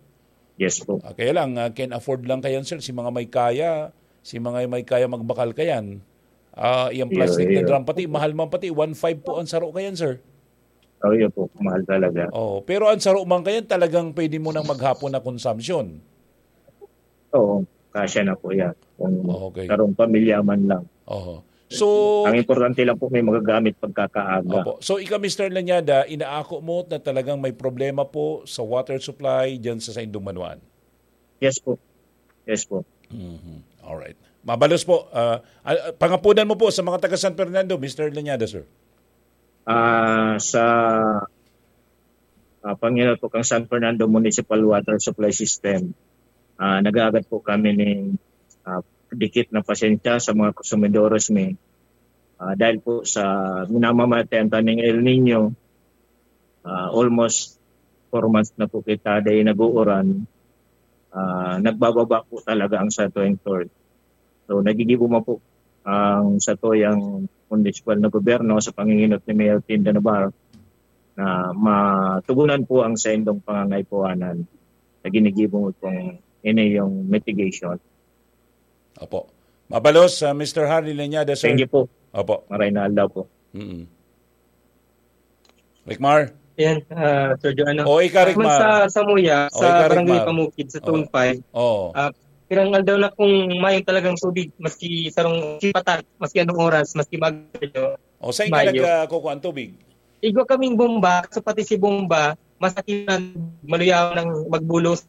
Yes po. Ah, kaya lang, ah, can afford lang kayan, sir, si mga may kaya, si mga may kaya magbakal kayan. Ah, yung Iyo, plastic na iyo. drum, pati mahal man pati, one five po ang saro kayan, sir. Oh, yun po. Mahal talaga. Oh, pero ang saro man kayan, talagang pwede mo nang maghapon na consumption. Oo, kasya na po yan. Kung Okay. karong pamilya man lang. Oho. So, Ang importante lang po, may magagamit pagkakaaga. Opo. So, ika, Mister Lanyada, inaako mo na talagang may problema po sa water supply dyan sa saindong banwaan? Yes po. Yes po. Mhm. Alright. Mabalos po. Ah, ah, pangapunan mo po sa mga taga San Fernando, Mister Lanyada, sir. Ah, sa, ah, panginot po kang San Fernando Municipal Water Supply System, ah, nag-aagad po kami ni, ah, dikit na pasensya sa mga konsumidores mi. Ah, dahil po sa minamamatayan ta ning El Niño, ah, almost four months na po kita dahil nag-uuran, ah, nagbababa po talaga ang satuing source. So, nagigibo man po ang satuyang munisipal na gobyerno sa panginginot ni Mayor Tinda Navarro na matugunan po ang saindong pangangaipuhanan na ginigibo mo pong ini yung mitigation. Opo. Mabalos, ah, Mister Harry Leñada, sir. Thank you po. Opo. Maray na aldaw po. Mm. Ricmar? Ayan, ah, Sir Joanna. O, ika, Ricmar. Sa Samuya, O, sa ika, Barangay Ricmar. Pamukid, sa O. Zone five, O. ah, pirang aldaw na kung mayong talagang tubig, maski sarong sipatak, maski anong oras, maski mag-, O, saan ka Mayo. nag, ah, kukuha ang tubig? Igwa kaming bomba, so pati si bomba, masakit na maluyaw ng magbulos.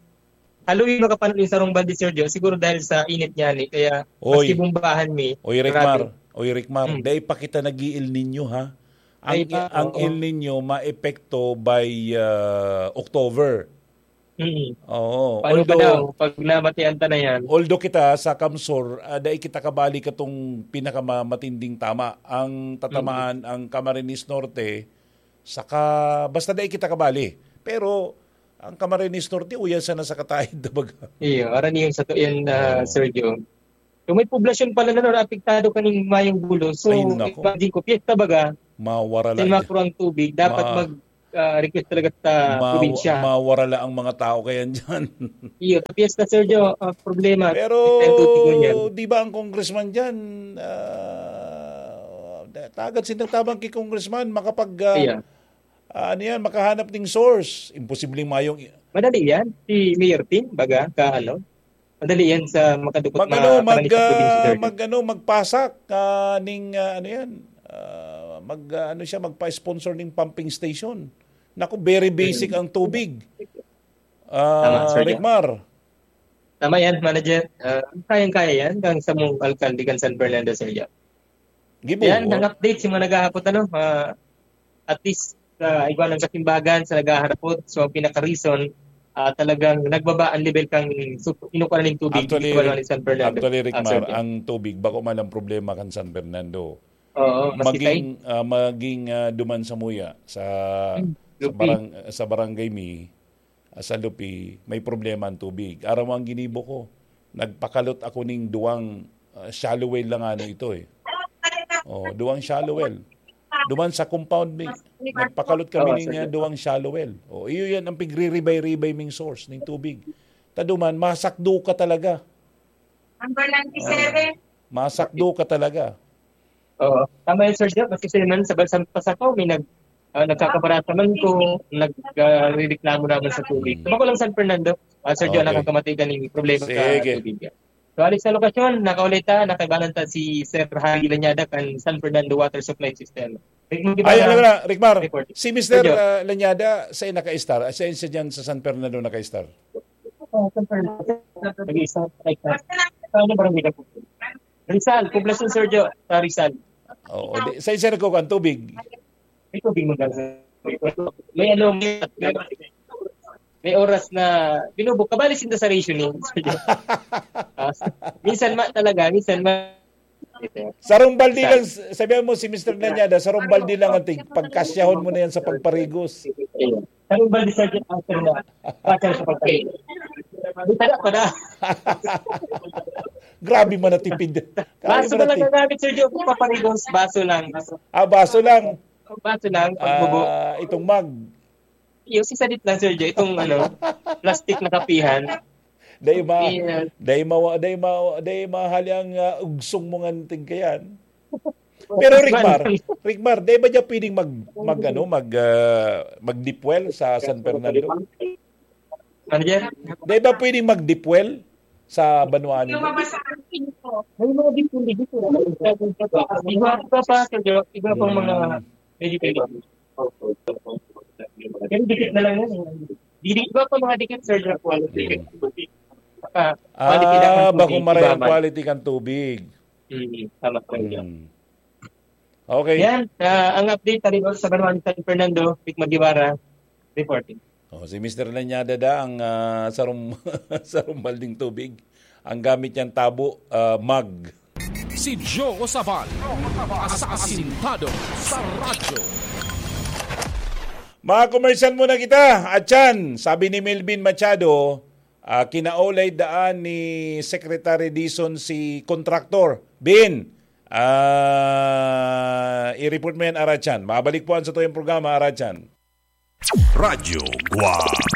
Haloy makapanalo yung sarong balde, Sir Joe, siguro dahil sa init niya ni, kaya Oy. maski bombahan mi, Oy, Ricmar. grabe. Oy, Ricmar. Mm. Dahil pa kita nag-i-El Niño, ha? Ang, Ay, pa, ang oo. El Niño maepekto by, ah, October. Mm. Oo. Paano pa Although, daw, pag namatian ta na yan? although kita sa Kamsur, ah, dai kita kabali katong pinakamatinding tama. Ang tatamaan, Mm. ang Camarines Norte, saka basta dai kita kabali. Pero, Ang Camarines Norte, uya sana sa Kataid, baga. Iyo, aran yung sa to yan, ah, Oo. Sergio. So, may poblasyon pala na, no, apektado kaning mayong bulos. So, Ay, nako. imagine ko, piyesta baga, Mawara sa lang mga dyan. kurang tubig, dapat Ma- mag, ah, request talaga sa Ma- probinsya. Mawara lang ang mga tao kaya dyan. Iyo, sa piyesta, Sergio, ah, problema. Pero Ang tubig mo niyan. di ba ang congressman dyan, ah, tagad sinagtabang kay congressman, makapag, ah, Iya. ah, ano yan, makahanap ng source. Imposibleng mayong Madali yan. Si Mayor Tim, baga, ka ano, madali yan sa makadukot Mag-ano, na mag, kanalis sa probinsya, ah, sir. mag-ano, magpasak, ah, ning, ah, ano yan, ah, mag, ah, ano siya, magpa-sponsor ning pumping station. Naku, very basic Mm. ang tubig. Ah, Tama, sir, yeah. Ricmar. Tama yan, manager. Ah, kayang-kaya yan, kang sa mong alkalde kan San Fernando, sir, yeah. Gibo. Yan, ang update sa mga naghahapot, ano, ah, at least, sa igwa ng kasimbagan, sa naghaharapot, so, ang pinaka-reason, ah, talagang nagbaba ang level kang su-, kinukuha ng tubig Actually, dito sa Rick-, San Fernando. actually, Rick Ah, Mar, sir. ang tubig, bako man ang problema kan San Fernando. Oo, maski Maging, tayo. ah, maging, ah, duman sa Muya, sa, Hmm, sa Lupi. barang-, sa barangay mi, ah, sa Lupi, may problema ang tubig. Aram mo ang ginibo ko? Nagpakalot ako ning duwang, ah, shallow well lang ano ito eh. Oh, duwang shallow well. Duman sa compound mi, nagpakalot kami Oo, ning, sir. ah, duwang shallow well. Oh, iyo yan ang pigriribay-ribay ming source ning tubig. Ta duman, masakdo ka talaga. Number ninety-seven. Ah, masakdo ka talaga. Oo. Tama yun, Sir Joe. Kasi sila man sa, sa Pasakaw, may nag, ah, nagkakabarata man ko, nag, ah, rereklamo naman sa tubig. Mm. Bako lang San Fernando, ah, Sir Joe, Okay. nakakamati ka ning problema sa Sige. tubig. So, alis sa lokasyon, nakaulit ta, nakaibanan ta si Sir Harry Lanyada kan San Fernando Water Supply System. Rick Ay, Magdibana, ano na, Ricmar, report. si Mister, Sir Joe. ah, Lanyada, sa naka-star, sa, sa dyan sa San Fernando naka-star? Oh, San Fernando. Nag-isa, like, ah, saan yung barangay na po? Rizal, Poblacion, Sir Joe, sa Rizal. Oo, di, sa isa nagkukuha ang tubig. May tubig mo dala. May ano, may, may oras na binubuk. Kabali sinda sa rationing, Sir Joe. Ah, minsan ma talaga, minsan ma Sarong balde Sa lang, sabihan mo si Mister Lanyada, sarong balde lang ang tig-, pagkasyahon mo na yan sa pagparigos. Ayun. Sarong balde, Sir Joe, ang sir na. Kasya sa pagparigos. Di taga pa na. Grabe man natipid. Grabe Baso man na lang natipid. ang gamit, Sir Joe, kung paparigos, baso lang. Ah, baso lang. Baso lang, pagbubo. Ah, itong mug. Yung si Sadit lang, Sir Joe, itong ano, plastic na kapihan. Dai ma-, Kapihan. dai mawa-, dai ma-, dai mahali ang, ah, ugsong mo ngan tigkayan. Pero Ricmar, Ricmar, dai ba diya pwedeng mag, mag, ano, mag, ah, mag-deep well sa San Fernando? Ano yan? Dai ba pwedeng mag-deep well sa banwa niyo? May mga deep well dito. Iba pa, Sir Joe, iba pang mga Hmm. medyo pwede. Pero dikit na lang yan, eh. Dili, iba pa mga dikit, Sir Joe, quality. Hmm. Ah, quality lang ang Ah, tubig, bakong maray iba ang man. quality kan tubig. Hmm, tama, Sir Joe. Hmm. Okay. Yan, ah, ang update, tali sa banwa ni San Fernando, Rick Magdibana, reporting. Oh, si Mister Lanyada da ang, ah, sarum-, sarumbal ding tubig. Ang gamit niyang tabo, ah, mug. Si Joe Sabal, asasintado sa radyo. Mga komersyal muna kita. Atyan, sabi ni Melvin Machado, ah, kinaulay daan ni Secretary Dizon si kontraktor. Bin, ah, i-report mo yan, Aratyan. Mabalik po ang sa tuyong programa, Aratyan. Radyo Guwang.